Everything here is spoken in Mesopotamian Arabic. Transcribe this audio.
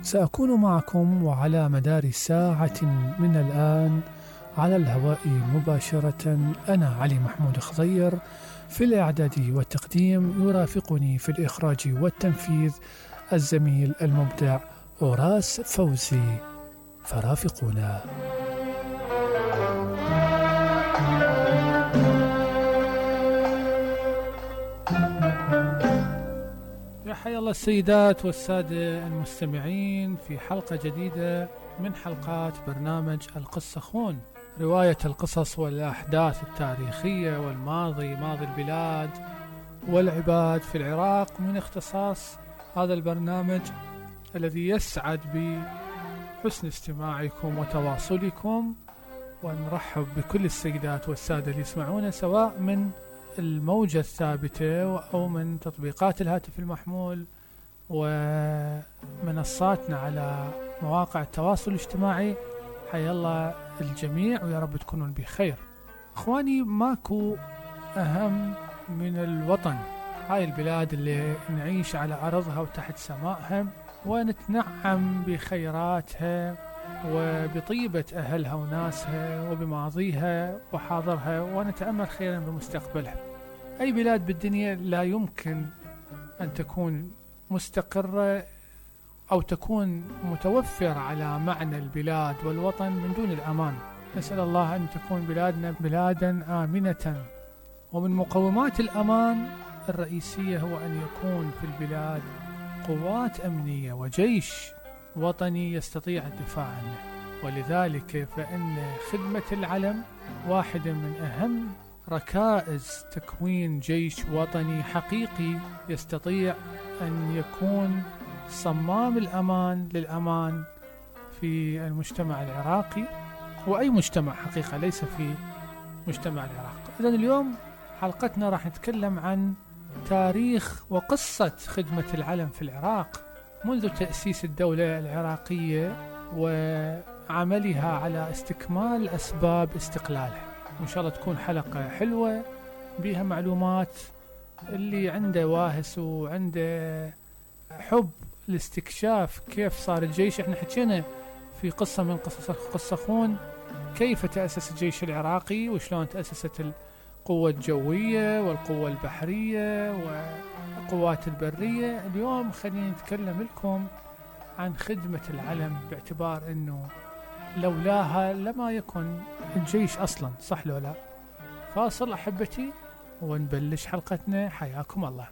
سأكون معكم وعلى مدار ساعة من الآن على الهواء مباشرة. أنا علي محمود خضير، في الإعداد والتقديم يرافقني في الإخراج والتنفيذ الزميل المبدع أوراس فوزي، فرافقونا. يا حيا الله السيدات والسادة المستمعين في حلقة جديدة من حلقات برنامج القصة خون، رواية القصص والأحداث التاريخية والماضي، ماضي البلاد والعباد في العراق، من اختصاص هذا البرنامج الذي يسعد بحسن استماعكم وتواصلكم. ونرحب بكل السيدات والسادة اللي يسمعونا سواء من الموجة الثابتة أو من تطبيقات الهاتف المحمول ومنصاتنا على مواقع التواصل الاجتماعي. حيا الله الجميع ويا رب تكونون بخير. اخواني، ماكو اهم من الوطن، هاي البلاد اللي نعيش على أرضها وتحت سمائها ونتنعم بخيراتها وبطيبة أهلها وناسها وبماضيها وحاضرها، ونتأمل خيرا بمستقبلها. أي بلاد بالدنيا لا يمكن أن تكون مستقرة أو تكون متوفر على معنى البلاد والوطن من دون الأمان. نسأل الله أن تكون بلادنا بلادا آمنة، ومن مقومات الأمان الرئيسية هو أن يكون في البلاد قوات أمنية وجيش وطني يستطيع الدفاع عنه. ولذلك فإن خدمة العلم واحدة من أهم ركائز تكوين جيش وطني حقيقي يستطيع أن يكون صمام الأمان للأمان في المجتمع العراقي وأي مجتمع حقيقة، ليس في مجتمع العراق. إذن اليوم حلقتنا راح نتكلم عن تاريخ وقصة خدمة العلم في العراق منذ تأسيس الدولة العراقية وعملها على استكمال أسباب استقلالها. وإن شاء الله تكون حلقة حلوة بها معلومات. اللي عنده واهس وعنده حب الاستكشاف كيف صار الجيش، احنا حكينا في قصة من قصص قصة خون كيف تأسس الجيش العراقي وشلون تأسست القوة الجوية والقوة البحرية والقوات البرية. اليوم خلينا نتكلم لكم عن خدمة العلم، باعتبار انه لولاها لما يكن الجيش اصلا، صح لو لا؟ فاصل احبتي ونبلش حلقتنا. حياكم الله.